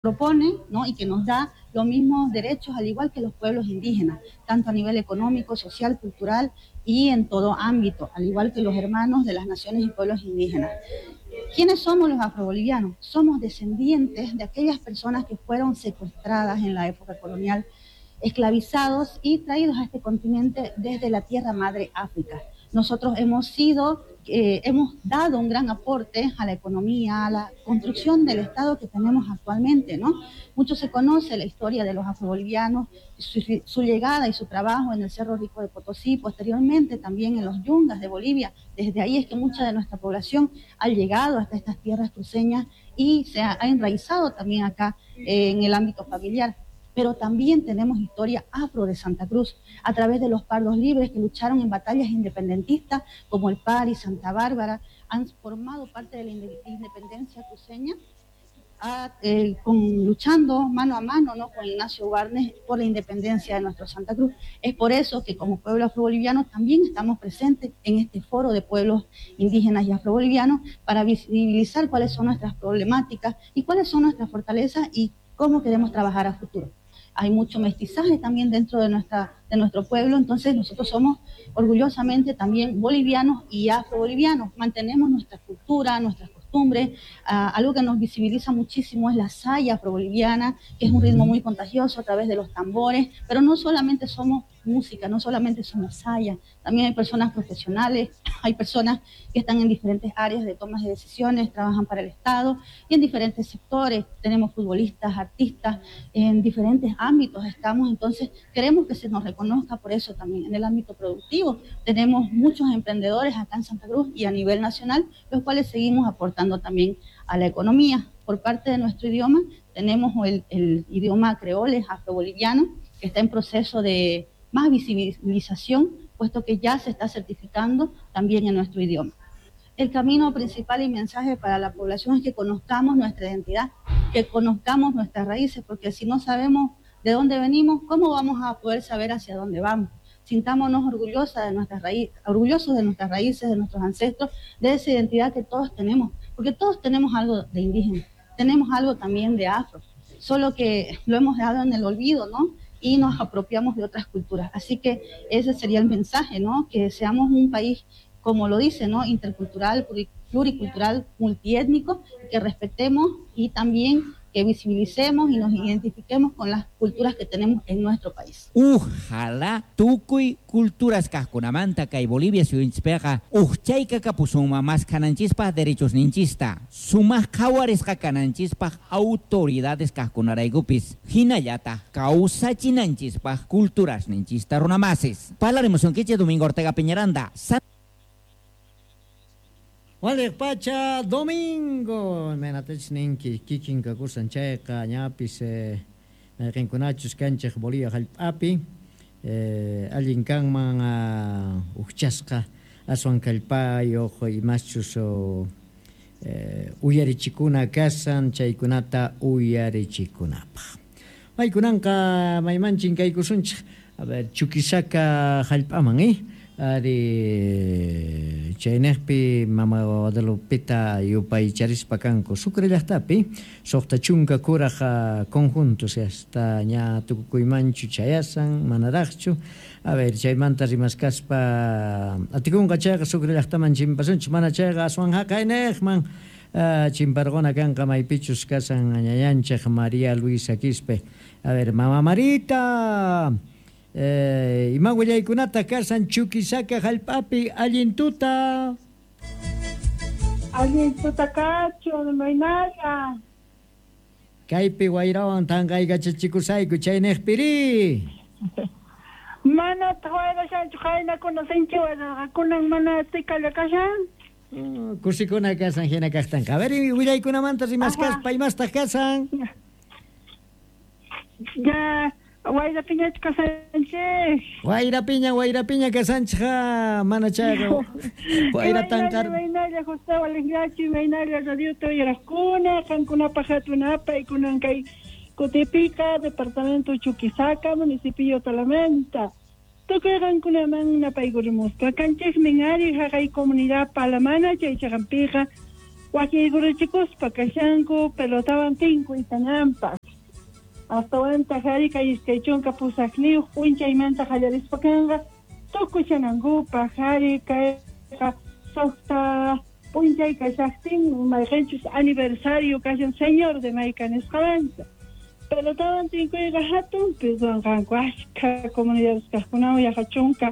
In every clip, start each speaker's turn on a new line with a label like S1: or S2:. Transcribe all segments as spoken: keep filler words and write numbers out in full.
S1: Propone, ¿no?, y que nos da los mismos derechos al igual que los pueblos indígenas, tanto a nivel económico, social, cultural y en todo ámbito, al igual que los hermanos de las naciones y pueblos indígenas. ¿Quiénes somos los afrobolivianos? Somos descendientes de aquellas personas que fueron secuestradas en la época colonial, esclavizados y traídos a este continente desde la tierra madre África. Nosotros hemos sido, eh, hemos dado un gran aporte a la economía, a la construcción del Estado que tenemos actualmente, ¿no? Mucho se conoce la historia de los afrobolivianos, su, su llegada y su trabajo en el Cerro Rico de Potosí, posteriormente también en los Yungas de Bolivia. Desde ahí es que mucha de nuestra población ha llegado hasta estas tierras cruceñas y se ha, ha enraizado también acá, eh, en el ámbito familiar. Pero también tenemos historia afro de Santa Cruz, a través de los pardos libres que lucharon en batallas independentistas, como el Pari, Santa Bárbara, han formado parte de la independencia cruceña, a, eh, con, luchando mano a mano, ¿no?, con Ignacio Warnes por la independencia de nuestro Santa Cruz. Es por eso que como pueblo afroboliviano también estamos presentes en este foro de pueblos indígenas y afrobolivianos para visibilizar cuáles son nuestras problemáticas y cuáles son nuestras fortalezas y cómo queremos trabajar a futuro. Hay mucho mestizaje también dentro de, nuestra, de nuestro pueblo, entonces nosotros somos orgullosamente también bolivianos y afrobolivianos. Mantenemos nuestra cultura, nuestras costumbres. Uh, algo que nos visibiliza muchísimo es la saya afroboliviana, que es un ritmo muy contagioso a través de los tambores, pero no solamente somos música, no solamente somos saya, también hay personas profesionales, hay personas que están en diferentes áreas de tomas de decisiones, trabajan para el Estado y en diferentes sectores. Tenemos futbolistas, artistas, en diferentes ámbitos estamos, entonces queremos que se nos reconozca por eso también. En el ámbito productivo tenemos muchos emprendedores acá en Santa Cruz y a nivel nacional, los cuales seguimos aportando también a la economía. Por parte de nuestro idioma, tenemos el, el idioma creole afroboliviano, que está en proceso de más visibilización, puesto que ya se está certificando también en nuestro idioma. El camino principal y mensaje para la población es que conozcamos nuestra identidad, que conozcamos nuestras raíces, porque si no sabemos de dónde venimos, ¿cómo vamos a poder saber hacia dónde vamos? Sintámonos orgullosas de nuestras raíces, orgullosos de nuestras raíces, de nuestros ancestros, de esa identidad que todos tenemos, porque todos tenemos algo de indígena, tenemos algo también de afro, solo que lo hemos dejado en el olvido, ¿no?, y nos apropiamos de otras culturas. Así que ese sería el mensaje, ¿no?, que seamos un país, como lo dice, ¿no?, intercultural, pluricultural, multiétnico, que respetemos y también que visibilicemos y nos identifiquemos con las culturas que tenemos en nuestro país.
S2: Ojalá tukuy culturas kajkunamanta kay Bolivia suyunchikpiqa ujchayka kapusunman maskhananchispa derechos ninchista, sumaq qhawarisqa kananchispaq autoridades kajkunaraykupis, hinallataq kawsachinanchispaq culturas ninchista runamasis. Parlaremos unkichik Domingo Ortega Peñaranda. San
S3: Waliq pacha domingo menatech ninki kikin kakusan chayqa ñapis mayqinkunachus kanchik Bolivia hallp'api allin kanman ujchasqa aswan kallpayuq imaschus uyarichikuna kasan chaykunata uyarichikunapaq. Maykunanqa maymanchin kaykusunchik, a ver, Chuquisaca hallp'aman, eh? Ari chaynejpi mama Guadalupita yupaycharispa kanku Sucre llaqtapi suqta chunka kuraj conjuntos hasta ña tukukuymanchu chayasan manaraqchu. A ver, chaymanta rimaskaspa atikunqa chayqa Sucre llaqtaman chimpasunchik, mana chayqa aswan haqaynejman chimparquna kanqa maypichus kasan ñañanchik María Luisa Quispe. A ver, mama Marita, Eh, ima willaykunata kasan Chuquisaca hallp'api allin tuta.
S4: Allin tuta kachu maynalla.
S3: Kaypi wayrawan tanqaykachachikusayku chaynejpiri.
S4: Mana wayrashanchu qaynakuna sinchi wayraqakunan mana tikalla kashan.
S3: Kusikuna kasan hina kaqtanqa. A ver, willaykunamanta rimaskaspa imastaq kasan.
S4: Ya Wayra piñachu kasanchik.
S3: Wayra piña, wayra piña kasanchik, mana chayqa. Wayra tanqar.
S4: Waynalla José Walingachi, waynalla radiota uyaraqkuna, qankunapaq hatunapa ikunan kay Cotepica, departamento Chuquisaca, municipio Talamenta. Tukuy qankunaman napaykurimuspa. Kanchikmin ari haqay comunidad Palamana, chaychaqanpiqa Wakiykuruchikuspa kashanku pelotawan tinkuytanampaq. Astawanta hari kay iskay chunka pusaqniyuq p'unchaymanta qallarispa kanqa tukuchanankupaq hari kayqa suqta p'unchay kashaqtin mayqinchus aniversario kashan Señor de Mayka nisqamanta. Pelotawan tinkuyqa hatunpi ruwanqanku ashkha comunidades kaqkunawan yaqa chunka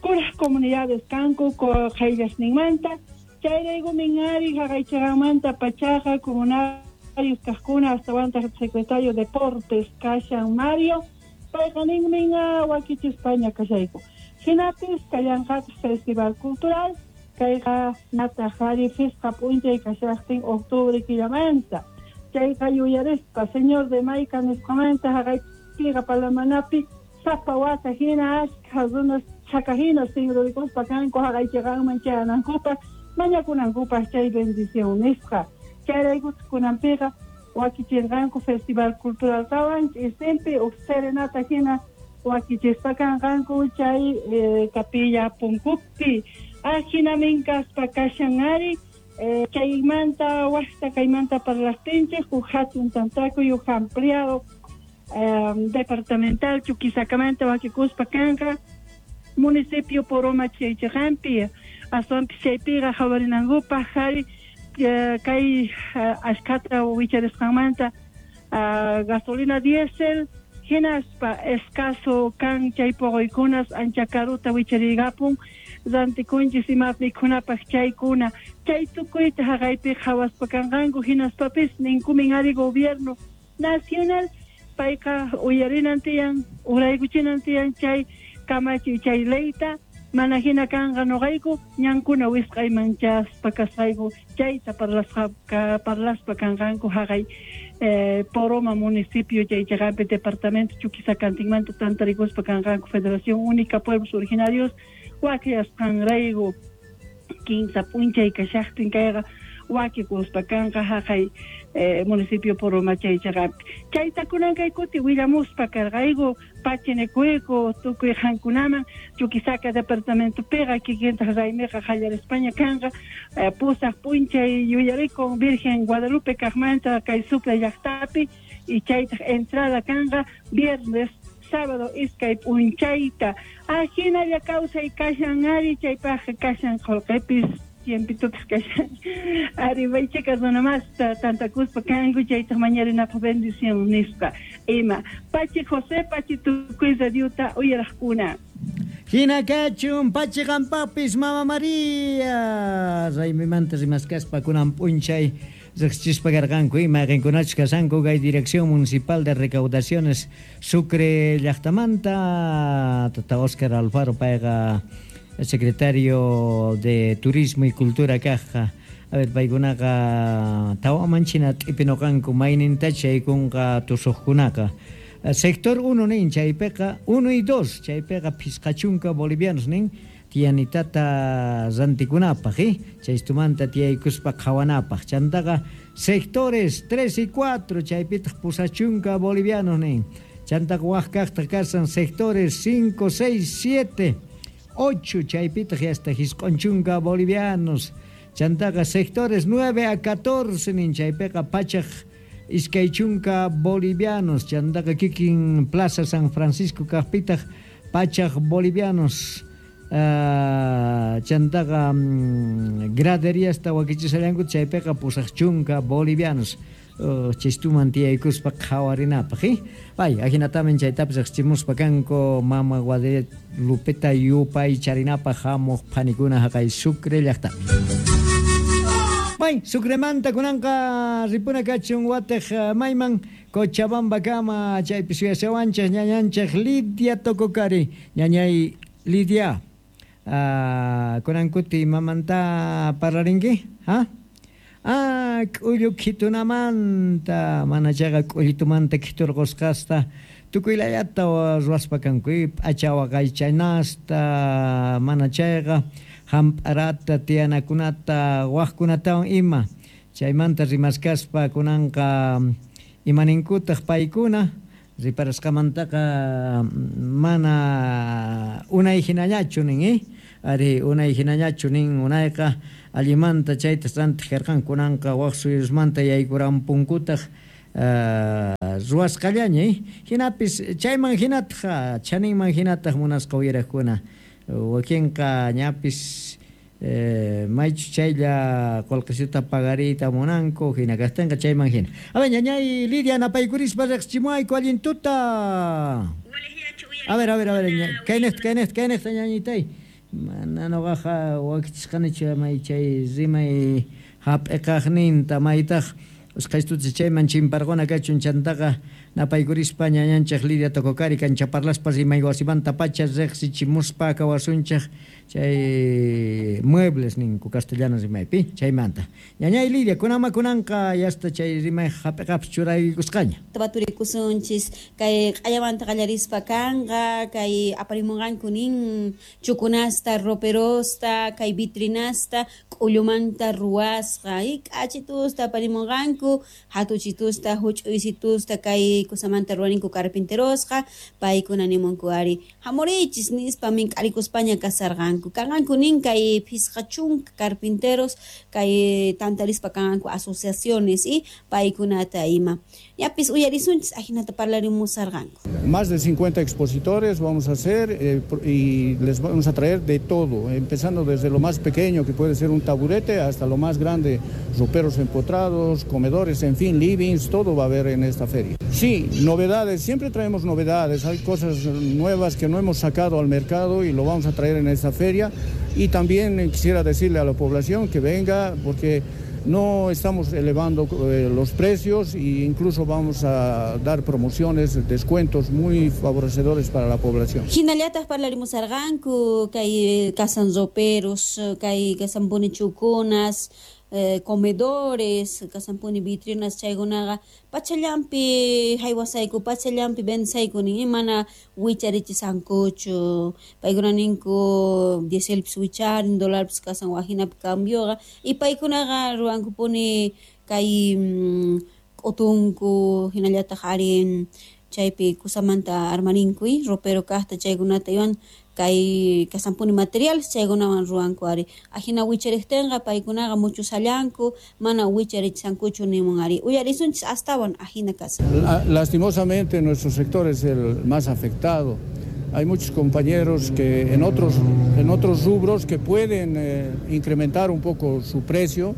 S4: kuraq comunidades kanku qayllasninmanta. Chayrayku minari haqaychaqanmanta pachaqa comunarios kaqkuna astawanta secretario de Deportes kashan Mario payqa ninmin wakichispaña kashayku. Hinapis kallanqataq Festival Cultural kayqa nataq hari fisqa p'unchay kashaqtin octubre killamanta. Chayqa yuyarispa Señor de Mayka nisqamanta haqaypiqa Palamanapi sapa wata hina ashkha runas chaka hina sinrurikuspa kanku haqaychaqanman chayanankupaq mañakunankupaq chay bendición nisqa. Chayrayku kunanpiqa wakichinqanku Festival Cultural tawan ch'isinpi uj serenata hina wakichispa kanqanku chay eh, capilla punkupi. Ajinamin kaspa kashan ari eh, chaymanta waqta kaymanta parlaqtinchik uj hatun tantakuy uj ampliado eh, departamental Chuquisakamanta wakikuspa kanqa municipio Poroma chaychaqanpi. Aswanpis chaypiqa qhawarinankupaq hari kay ashkhata wicharisqanmanta gasolina diésel hinaspa escaso kan chay poqoykunas ancha karuta wicharigapun rantikunchis imap mikhunapaq chaykuna chay tukuyta haqaypi qhawaspa kanqanku hinaspapis ninkumin ari gobierno nacional payqa uyarinan tiyan uraykuchinan tiyan chay kamachiy chay leyta mana hina kanqa noqayku ñankuna wisq'ayman chaspa kasqayku chayta parlasqa parlaspa kanqanku haqay eh, Poroma municipio chay chaqanpi departamento Chuquisacantinmanta tantarikuspa kanqanku Federación Única Pueblos Originarios wakiyasqanrayku kinsa p'unchay kashaqtin kayqa wakikuspa kanqa haqay eh, municipio Poroma chay chaqanpi. Chayta kunan kay kuti willamuspa karqayku pachinikuyku tukuy qankunaman Chuquisaca departamentopiqa kikintaq raymiqa qallarispaña kanqa eh, pusaq p'unchay yuyarikun Virgen Guadalupe kaqmanta kay Sucre llaqtapi y chaytaq entrada kanqa viernes sábado iskay p'unchayta. Ajinalla kawsay kashan ari chaypaqqa kashan qullqipis tiempitupis kashan ari maychika runa masta tantakuspa kanku chaytaq mañarinapaq bendición nispa ima. Pachi José, pachi tukuy radiota uyaraqkuna.
S3: Hina kachun pachi qampapis Mama María raymimanta rimaskaspa kunan p'unchay riqsichispa karqanku ima mayqinkunachus kashanku kay Dirección Municipal de Recaudaciones Sucre llaqtamanta tata Oscar Alfaro payqa secretario de Turismo y Cultura kajqa. A ver, paykunaqa tawaman china t'ipinoqanku maynintacha chaykunqa tusuqkunaqa. Sector uno nin chaypiqa uno y dos chaypiqa phisqa chunka bolivianos nin tiyanitata rantikunapaq eh chaystumanta tiyaykuspa qhawanapaq. Chantaqa sectores tres y cuatro chaypitaq pusachunka bolivianos nin. Chantaqa waq kaqtaq kasan sectores cinco, seis, siete, ocho chaypitaq hasta hisq'onchunka bolivianos. Chantaqa sectores nueve a catorce nin chaypiqa pachaq iskay chunka bolivianos. Chantaqa kikin Plaza San Francisco kaqpitaq pachaq bolivianos. Uh, chantaqa um, graderiasta wakichisallanku chaypiqa pusaq chunka bolivianos. Uh, chistuman tiyaykuspa qhawarinapaq eh? Pay ajinatamin chaytapis riqsichimuspa kanku Mama Guadalupeta yupaycharinapaq hamuq phanikuna haqay Sucre llaqtapi. Pay Sucremanta kunanqa ripuna kachun watej mayman Cochabamba kama chaypi suyashawanchej ñañanchej Lidia Tococari. Ñañay Lidia, uh, kunankuti mamanta parlarinki? Ha? Ah, k'ullu khitunamanta, mana chayqa k'ullitumanta khiturqusqasta tukuylayata ruwaspa kanku, p'acha waqaychanasta, mana chayqa hamp'arata, tiyanakunata, waqkunatawan ima. Chaymanta rimaskaspa kunanqa imaninkutaq paykuna riparasqamantaqa mana unay hinallachu nin, eh? Ari unay hinañachu nin unayqa allimanta chayta rantiq karqanku, kunanqa waq suyusmanta yaykurampunkutaq ruwasqallaña, hinapis chayman hinataq chaninman hinataq munasqa uyaraqkuna wakinqa ñapis maychu chaylla qullqisita pagariyta munanku hina kaqtinqa chayman hina. A ver, ñañay Lidia napaykurispa riqsichimuwayku allin tuta. A ver, a ver, a ver, kayniqta, kayniqta, kayniqta ñañitay. Mana nuqaqa wakichisqanichu may chay rimay hap'iqaqninta maytaq usqhaystuta chayman chimparquna kachun chantaqa napaykurispa ñañanchik Lidia Tococari kanchaparlaspa rimay wasimanta pacha riqsichimuspa kawasunchik chay muebles ninku castellano rimaypi chaymanta. Ñañay Lidia, kunama kunanqa yasta chay rimay hap'iqapis churaykusqaña.
S5: Tapaturikusunchis kay q'allamanta qallarispa kanqa kay aparimunqanku nin chukunasta, roperosta, kay vitrinasta k'ullumanta ruwasqa y k'achitusta aparimunqanku hatuchitusta, huch'uysitusta kay kusamanta ruwaninku carpinterosqa paykuna nimunku ari hamurichis nispa mink'arikuspaña kasarqanku kanqanku nin kay phisqa chunka carpinteros kay tantarispa kanqanku asociaciones y paykunata ima yapis uyarisunchis ajinata parlarimusarqanku.
S6: Más de cincuenta expositores vamos a hacer eh, y les vamos a traer de todo, empezando desde lo más pequeño que puede ser un taburete hasta lo más grande, roperos empotrados, comedores, en fin, livings, todo va a haber en esta feria. Sí, novedades, siempre traemos novedades, hay cosas nuevas que no hemos sacado al mercado y lo vamos a traer en esta feria. Y también quisiera decirle a la población que venga porque no estamos elevando eh, los precios e incluso vamos a dar promociones, descuentos muy favorecedores para la población.
S5: Hinallataq parlarimusarqanku kay kasan roperos, kay kasan punichukunas, eh, comedores, kasanpuni vitrinas chaykunaqa pachallampi haywasayku, pachallampi vendesayku nin mana wicharichisankuchu paykuna ninku dieselpis wicharin, dólarpis kasan wajinapi cambioqa y paykunaqa ruwankupuni kay k'utunku hinallataq ari chaypi kusamanta armarinku ropero kaqta chaykunata iwan kay kasanpuni materiales chaykunawan ruwanku ari ajina wichariqtinqa paykunaqa muchusallanku mana wicharichisankuchu nimun ari uyarisunchis astawan ajina kasan.
S6: Lastimosamente nuestro sector es el más afectado. Hay muchos compañeros que en otros, en otros rubros que pueden eh, incrementar un poco su precio,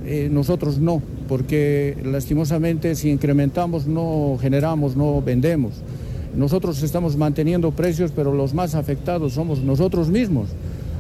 S6: eh, nosotros no, porque lastimosamente si incrementamos no generamos, no vendemos. Nosotros estamos manteniendo precios, pero los más afectados somos nosotros mismos.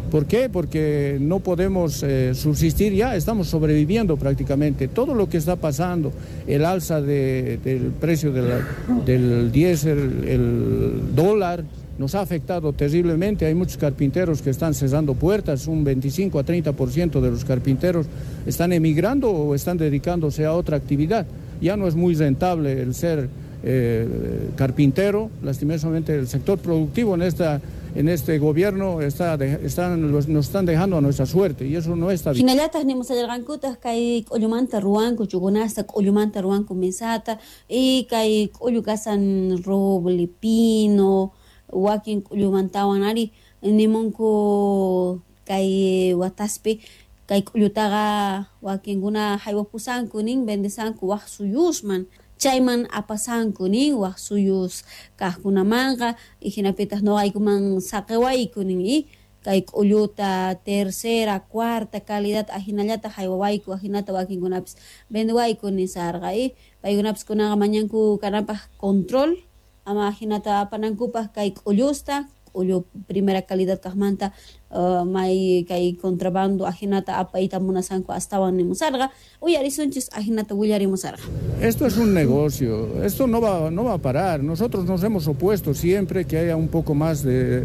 S6: ¿Por qué? Porque no podemos eh, subsistir ya, estamos sobreviviendo prácticamente. Todo lo que está pasando, el alza de, del precio de la, del diésel, el dólar, nos ha afectado terriblemente. Hay muchos carpinteros que están cerrando puertas, un veinticinco a treinta por ciento de los carpinteros están emigrando o están dedicándose a otra actividad. Ya no es muy rentable el ser eh, carpintero. Lastimosamente el sector productivo en esta en este gobierno está de, están, los, nos están dejando a nuestra suerte y eso no está bien.
S5: Hinallataq nimusallarqankutaq kay k'ullumanta ruwanku chukunasta, k'ullumanta ruwanku mesata y kay k'ullu kasan roble, pino, wakin k'ullumantawan ari nimunku kay wataspi kay k'ullutaqa wakinkuna haywapusanku nin vendesanku waq suyusman chayman apasanku nin waq suyus kaqkunamanqa y hinapitaq nuqaykuman saqiwayku nin y kay k'ulluta tercera, cuarta calidad ahinallataq haywawayku ahinata wakinkunapis vendewayku nisarqa y paykunapis kunaqa mañanku kananpaq control ama ahinata apanankupaq kay k'ullusta k'ullu primera calidad kaqmanta uh, may kay contrabando ahinata apayta munasanku astawan nimusarqa uyarisunchis ahinata willarimusarqa.
S6: Esto es un negocio, esto no va, no va a parar. Nosotros nos hemos opuesto siempre que haya un poco más de,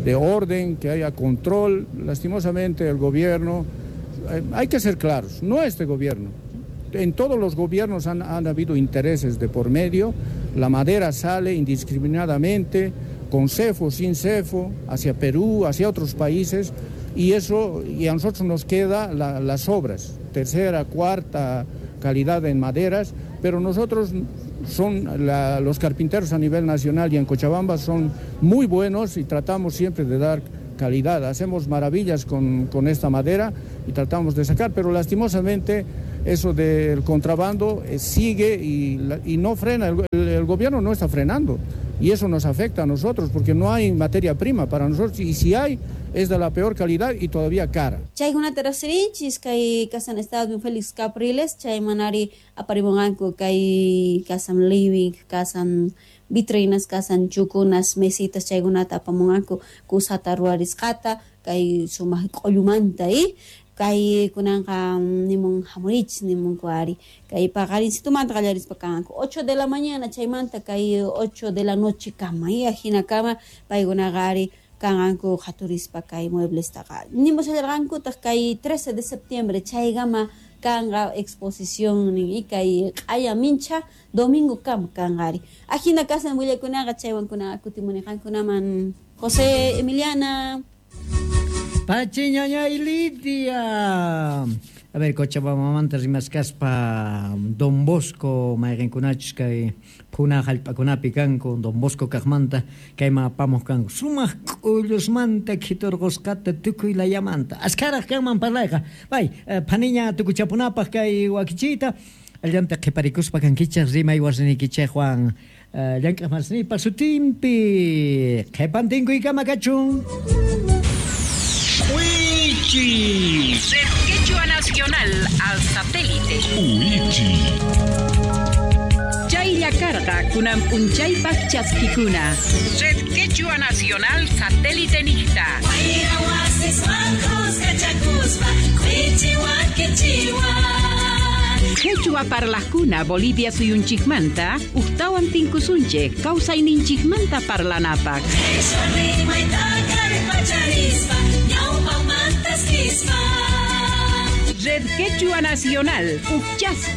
S6: de orden, que haya control. Lastimosamente el gobierno, eh, hay que ser claros, no este gobierno. En todos los gobiernos han, han habido intereses de por medio, la madera sale indiscriminadamente, con cefo, sin cefo, hacia Perú, hacia otros países, y eso, y a nosotros nos queda la, las obras, tercera, cuarta calidad en maderas, pero nosotros son la, los carpinteros a nivel nacional y en Cochabamba son muy buenos y tratamos siempre de dar calidad. Hacemos maravillas con, con esta madera y tratamos de sacar, pero lastimosamente eso del contrabando eh, sigue y, y no frena, el, el, el gobierno no está frenando y eso nos afecta a nosotros porque no hay materia prima para nosotros y si hay es de la peor calidad y todavía cara.
S5: Chaykunata riqsirinchis kay kasan Estado Félix Capriles, chaymanari aparimunqanku kay kasan living, kasan vitrinas, kasan chukunas, mesitas chaykunata apamunqanku kusata ruwarisqata kay sumaq q'ullumanta y kay kunanqa nimun hamurichis nimunku ari kay paqarinsitumanta qallarispa kanqanku ocho de la mañana chaymanta kay ocho de la noche kama y ajinakama paykunaqa ari kanqanku qhaturispa kay mueblestaqa nimushallarqankutaq kay trece de septiembre chaykama kanqa exposición nin y kay q'aya mincha domingo kama kanqa ari ajina kasan willakunaqa chaywankunaqa kutimuniqankunaman José Emiliana.
S3: Pachiñañay Lidia. A ver, Cochabambamanta rimasqaspa Don Bosco mayqinkunachus kay phuna hallp'akunapi kanku Don Bosco kaqmanta kayman apamuq kanku sumaq k'ullusmanta khiturqusqata tukuy layamanta askharaq kanman parlayqa bay phaniña tukuchapunapaq kay wakichiyta allanta qhiparikuspa kankichaq rimay wasinikichaqwan llank'aq masniypa sutinpi qhipantinkuykama kachun.
S7: Uichi. Red Quechua Nacional al satélite. Uichi. Chaylla karqa kunan p'unchaypaq chaskikuna. Red Quechua Nacional satélite niqta. Quechua parlajkuna Bolivia suyunchikmanta uqtawan tinkusunchik kawsayninchikmanta parlanapaq. Red Quechua Nacional, Uchaspa.